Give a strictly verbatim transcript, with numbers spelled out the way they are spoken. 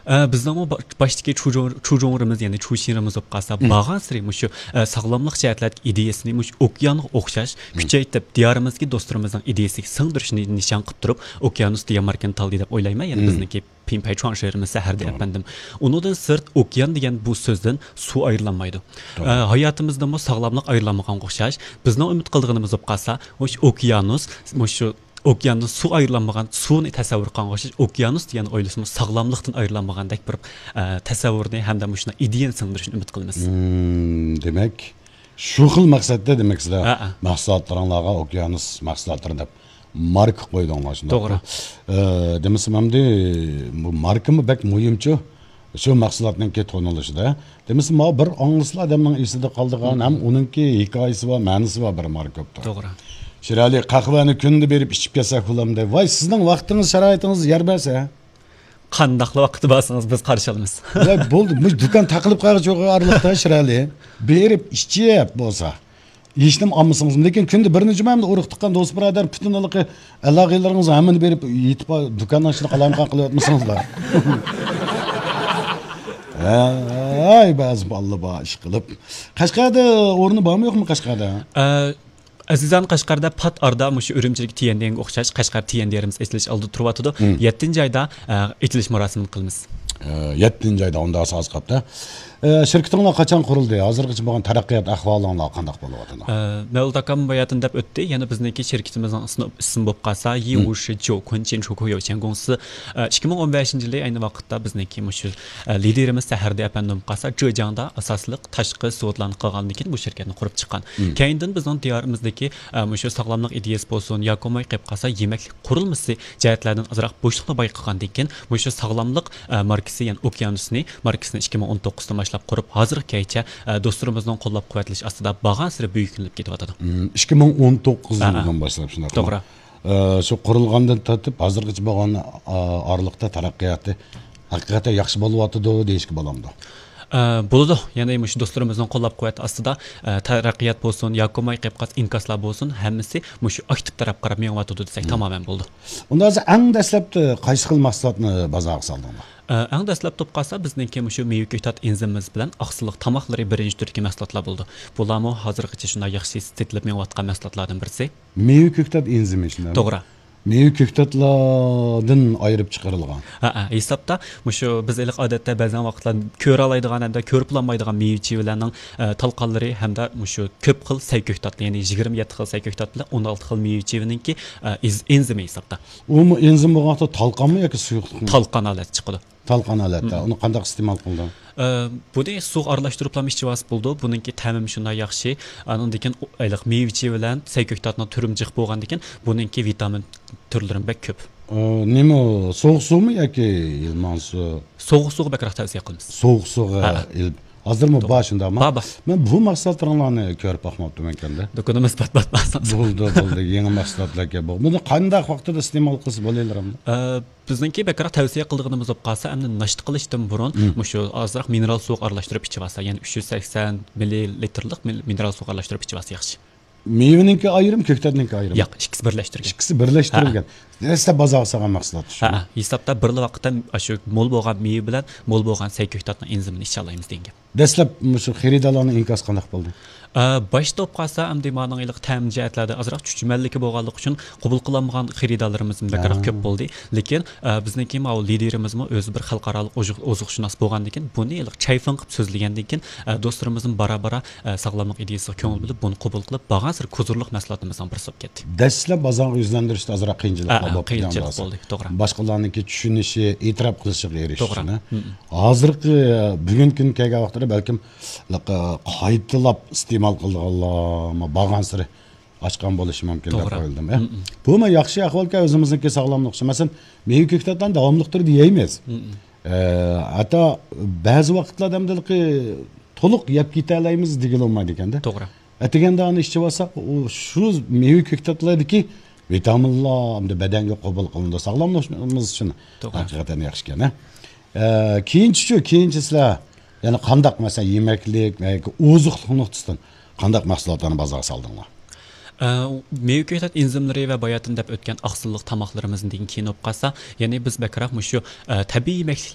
ئە، بىزنىڭمۇ با-، باشتىكى چۇجۇڭ-، چۇجۇڭرىمىز، يەنى چۇشىنرىمىز بولۇپ قالسا، مم. بارغانسېرى مۇشۇ، ئە، ساغلاملىق جەھەتلەردىكى ئىدىيەسىنى مۇشۇ ئوكيانغا ئوخشاش مم. كۈچەيتىپ، دىيارىمىزدىكى دوستلىرىمىزنىڭ ئىدىيەسىگە سىڭدۈرۈشنى نىشان قىلىپ تۇرۇپ، ئوكيانۇس دېگەن ماركىنى تاللىدى دەپ ئويلايمەن. يەنى مم. بىزنىڭكى پىڭپەي چۇاڭ شېھىرىمىز سەھەردە توغرا. ئەپەندىم. ئۇنىڭدىن سىرت، ئوكيان دېگەن بۇ سۆزدىن سۇ ئايرىلالمايدۇ. توغرا. ئە، ھاياتىمىزدىمۇ ساغلاملىق ئايرىلالمىغانغا ئوخشاش، بىزنىڭ ئۈمىد قىلىدىغىنىمىز بولۇپ قالسا، مۇشۇ ئوكيانۇس، مۇشۇ ئوكياندىن سۇ ئايرىلالمىغان، سۇنى تەسەۋۋۇر قىلغانغا ئوخشاش، ئوكيانۇس دېگەن ئويلىسىمۇ ساغلاملىقتىن ئايرىلالمىغاندەك بىر، ئە، تەسەۋۋۇرنى ھەمدە مۇشۇنداق ئىدىيەنى سىڭدۈرۈشنى ئۈمىد قىلىمىز. مم، دېمەك، شۇ خىل مەقسەتتە دېمەك سىلەر ھە، ھە. مەھسۇلاتلىرىڭلارغا ئوكيانۇس مەھسۇلاتلىرى دەپ ماركا قويدۇڭلار، شۇنداقمۇ؟ توغرا. ئە، دېمىسىم ئەمدى بۇ ماركىمۇ بەك مۇھىمچۇ. شۇ مەھسۇلاتنىڭكى تونۇلۇشىدا. دېمىسە، ماۋۇ بىر ئاڭلىسىلا ئادەمنىڭ ئېسىدە قالىدىغان مم. ھەم ئۇنىڭكى ھېكايىسى بار، مەنىسى بار بىر ماركوپتا. توغرا. شىرئەلى، قەھۋەنى كۈندە بېرىپ ئىچىپ كەلسەك بولامدۇ؟ ۋاي، سىزنىڭ ۋاقتىڭىز، شارائىتىڭىز يار بەرسە. قانداقلا ۋاقىتتا بارسىڭىز، بىز قارشى ئالىمىز. ۋاي، بولدى، مۇشۇ دۇكان تاقىلىپ قالغۇچە ئارىلىقتا، شىرئەلى. بېرىپ ئىچىپ بولسا. ھېچنېمە ئالمىسىڭىزمۇ، لېكىن كۈندە بىر نەچچە مەمدە ئۇرۇق تۇغقان دوست بۇرادەر، پۈتۈن ھېلىقى ئالاقىلىرىڭىز ھەممىنى بېرىپ يېتىپ، دۇكاننىڭ ئىچىنى قالايمىقان قىلىۋەتمىسىڭىزلا. ھەي، بەزى بالىلار بار ئىش قىلىپ. قەشقەردە ئورنى بارمۇ يوقمۇ قەشقەردە؟ ئە، ئەزىزان قەشقەردە پات ئارىدا مۇشۇ ئۈرۈمچىدىكى تيەندېنگە ئوخشاش قەشقەر تيەندېنىمىز ئېچىلىش ئالدىدا تۇرۇۋاتىدۇ. مم. يەتتىنچى ئايدا، ئە، ئېچىلىش مۇراسىمىنى قىلىمىز. ئە، يەتتىنچى ئايدا ئۇنداق ساز قاپتا. ئە، شىركىتىڭلار قاچان قۇرۇلدى؟ ھازىرغىچە بولغان تەرەققىيات ئەھۋالىڭلار قانداق بولۇۋاتىدۇ؟ ئە، مەۋلۇت ئاكام باياتىن دەپ ئۆتتى. يەنە بىزنىڭكى شىركىتىمىزنىڭ ئىسمى، ئىسمى بولۇپ قالسا، يى مم. ۋۇشى جيو كۇنچىن شوكۇيو چيەنگوڭسى. ئە، ئىككى مىڭ ئون بەشىنچى يىلى ئەينى ۋاقىتتا بىزنىڭكى مۇشۇ، ئە، لىدېرىمىز سەھەردە ئەپەندىم بولۇپ قالسا، جېجياڭدا ئاساسلىق تاشقى زاۋۇتلارنى قىلغاندىن كېيىن بۇ شىركەتنى قۇرۇپ چىققان. مم. كەينىدىن بىزنىڭ دىيارىمىزدىكى، ئە، مۇشۇ ساغلاملىق ئىدىيەسى بولسۇن، ياكى بولماي قېلىپ قالسا يېمەكلىك قۇرۇلمىسى جەھەتلەردىن ئازراق بوشلۇقنى بايقىغاندىن كېيىن، مۇشۇ ساغلاملىق، ئە، ماركىسى، يەنى ئوكيانۇسنى ماركىسىنى ئىككى مىڭ ئون توققۇزدىن باشلاپ قۇرۇپ، ھازىرغىچە، ئە، دوستلىرىمىزنىڭ قوللاپ قۇۋۋەتلىشى ئاستىدا بارغانسېرى بۈيۈكلىنىپ كېتىۋاتىدۇ. مم، ئىككى مىڭ ئون توققۇز ھە، ھە. يىلدىن باشلاپ، شۇنداقمۇ؟ توغرا. ئە، شۇ قۇرۇلغاندىن تارتىپ ھازىرغىچە بولغان، ئە، ئارىلىقتا تەرەققىياتى ھەقىقەتەن ياخشى بولۇۋاتىدۇ دېيىشكە بولامدۇ؟ ئە، بولىدۇ. يەنى مۇشۇ دوستلىرىمىزنىڭ قوللاپ قۇۋۋەت ئاستىدا، ئە، تەرەققىيات بولسۇن، ياكى بولماي قېلىپ قالسا ئىنكاسلار بولسۇن، ھەممىسى مۇشۇ ئاكتىپ تەرەپ قاراپ مېڭىۋاتىدۇ دېسەك مم. تامامەن بولىدۇ. ئۇندا ھازىر ئەڭ دەسلەپتە قايسى خىل مەھسۇلاتنى بازارغا سالدىڭلار؟ ئە، ئەڭ دەسلەپتە بولۇپ قالسا بىزنىڭكى مۇشۇ مېۋە كۆكتات ئېنزىمىمىز بىلەن ئاقسىللىق تاماقلىرى بىرىنچى تۈردىكى مەھسۇلاتلار بولىدۇ. بۇلارمۇ ھازىرغىچە شۇنداق ياخشى سېتىلىپ مېڭىۋاتقان مەھسۇلاتلاردىن بىرسى. مېۋە كۆكتات ئېنزىمى، شۇنداقمۇ؟ توغرا. مېۋە كۆكتاتلاردىن ئايرىپ چىقىرىلغان. ھە، ھە، ھېسابتا مۇشۇ بىز ھېلىقى ئادەتتە بەزەن ۋاقىتلار كۆرەلەيدىغان ھەمدە كۆرۈپ بولالمايدىغان مېۋە چېۋىلەرنىڭ، ئە، تالقانلىرى ھەمدە مۇشۇ كۆپ خىل سەي كۆكتات، يەنى يىگىرمە يەتتە خىل سەي كۆكتات بىلەن ئون ئالتە خىل مېۋە چېۋىنىڭكى، ئە، ئېز-، ئېنزىمى ھېسابتا. ئۇمۇ ئېنزىم بولغان ۋاقىتتا تالقانمۇ ياكى سۇيۇقلۇقمۇ؟ تالقان ھالەتتە چىقىدۇ. تالقان ھالەتتە. مم. ئۇنى قانداق ئىستېمال قىلدىڭ؟ ئە، بۇنى سۇغا ئارىلاشتۇرۇپلا ئىچىۋالسا بولىدۇ. بۇنىڭكى تەمىمۇ شۇنداق ياخشى. ئانىڭدىن كېيىن ئۇ، ھېلىقى مېۋە چېۋە بىلەن سەي كۆكتاتنىڭ تۈرىمۇ جىق بولغاندىن كېيىن، بۇنىڭكى ۋىتامىن تۈرلىرىمۇ بەك كۆپ. ئە، نېمە، سوغۇق سۇمۇ ياكى ئىلمان سۇ؟ سوغۇق سۇغا بەكرەك تەۋسىيە قىلىمىز. سوغۇق سۇغا ھە. ئېلىپ. ھازىرمۇ توغرا. بار شۇنداقمۇ؟ بار، بار. مەن بۇ مەھسۇلاتلىرىڭلارنى كۆرۈپ باقماپتىمەنكەندە. دۇكىنىمىز پات-پات بارسىڭىز. بولدى، بولدى. يېڭى مەھسۇلاتلاركەن بۇ. بۇنى قانداق ۋاقىتتا ئىستېمال قىلسا بولىدۇ؟ ئە، بىزنىڭكى بەكرەك تەۋسىيە قىلىدىغىنىمىز بولۇپ قالسا، ئەمدى ناشتا قىلىشتىن بۇرۇن مم. مۇشۇ ئازراق مىنېرال سۇغا ئارىلاشتۇرۇپ ئىچىۋالسا، يەنى ئۈچ يۈز سەكسەن مىللىلىتىرلىق مىل-، مىنېرال سۇغا ئارىلاشتۇرۇپ ئىچىۋالسا ياخشى. مېۋىنىڭكى ئايرىم، كۆكتاتنىڭكى ئايرىم. ياق، ئىككىسى بىرلەشتۈرگەن. ئىككىسى بىرلەشتۈرۈلگەن. ھە. دەسلەپ بازارغا سالغان مەھسۇلات شۇ. ھە، ھە. ھېسابتا بىرلا ۋاقىتتا ئاشۇ مول بولغان مېۋە بىلەن مول بولغان سەي كۆكتاتنىڭ ئېنزىمىنى ئىچەلەيمىز دېگەن گەپ. دەسلەپ مۇشۇ خېرىدارلارنىڭ ئىنكاسى قانداق بولدى؟ ئە، باشتا بولۇپ قالسا، ئەمدى مانىڭ ھېلىقى تەم جەھەتلەردە ئازراق چۈچۈمەنلىكى بولغانلىقى ئۈچۈن قوبۇل قىلالمىغان خېرىدارلىرىمىزمۇ بەكرەك ھە. كۆپ بولدى. لېكىن، ئە، بىزنىڭكى ماۋۇ لىدېرىمىزمۇ ئۆزى بىر خەلقئارالىق ئوزۇق-، ئوزۇقشۇناس بولغاندىن كېيىن، بۇنى ھېلىقى چايفېڭ قىلىپ سۆزلىگەندىن كېيىن، ئە، دوستلىرىمىزمۇ بارا-بارا، ئە، ساغلاملىق ئىدىيەسىگە كۆڭۈل بۆلۈپ، بۇنى قوبۇل قىلىپ، بارغانسېرى كوزۇرلۇق مەھسۇلاتىمىزنىڭ بىرسى بولۇپ كەتتى. دەسلەپ بازارغا يۈزلەندۈرۈشتە ئازراق قىيىنچىلىقلار ھە، بولۇپ قىيىنچىلىق بولدى، توغرا. باشقىلارنىڭكى چۈشىنىشى، ئېتىراپ قىلىشىغا ئېرىشىشى. توغرا. مم. ھازىرقى بۈگۈنكى كۈنگە كەلگەن ۋاقىتتا بەلكىم قايتىلاپ ئىستېمال قىلىدىغانلارمۇ بارغانسېرى ئاشقان بولۇشى مۇمكىن دەپ توغرا. ئويلىدىم. ئە؟ مم. بۇمۇ ياخشى ئەھۋالكەن ئۆزىمىزنىڭكى ساغلاملىقى ئۈچۈن. مەسىلەن، مېۋە كۆكتاتلارنى داۋاملىق تۈردە يەيمىز. مم. ئە، ھەتتا بەزى ۋاقىتلاردا ئەمدى تولۇق يەپ كېتەلەيمىز دېگىلى بولمايدىكەندە. توغرا. ئەتىگەندە ئۇنى ئىچىۋالساق، ئۇ شۇ مېۋە كۆكتاتلاردىكى ۋىتامىنلار ئەمدى بەدەنگە قوبۇل قىلىنىدۇ. ساغلاملىقىمىز ئۈچۈن توغرا. ھەقىقەتەن ياخشىكەن، ھە؟ ئە، كېيىنچىچۇ، كېيىنچە سىلەر يەنە قانداق، مەسىلەن، يېمەكلىك ياكى ئوزۇقلۇق نۇقتىسىدىن قانداق مەھسۇلاتلارنى بازارغا سالدىڭلار؟ ئە، مېۋە كۆكتات ئېنزىملىرى ۋە باياتىن دەپ ئۆتكەن ئاقسىللىق تاماقلىرىمىزدىن كېيىن بولۇپ قالسا، يەنى بىز بەكرەك مۇشۇ، ئە، تەبىئىي يېمەكلىكلەر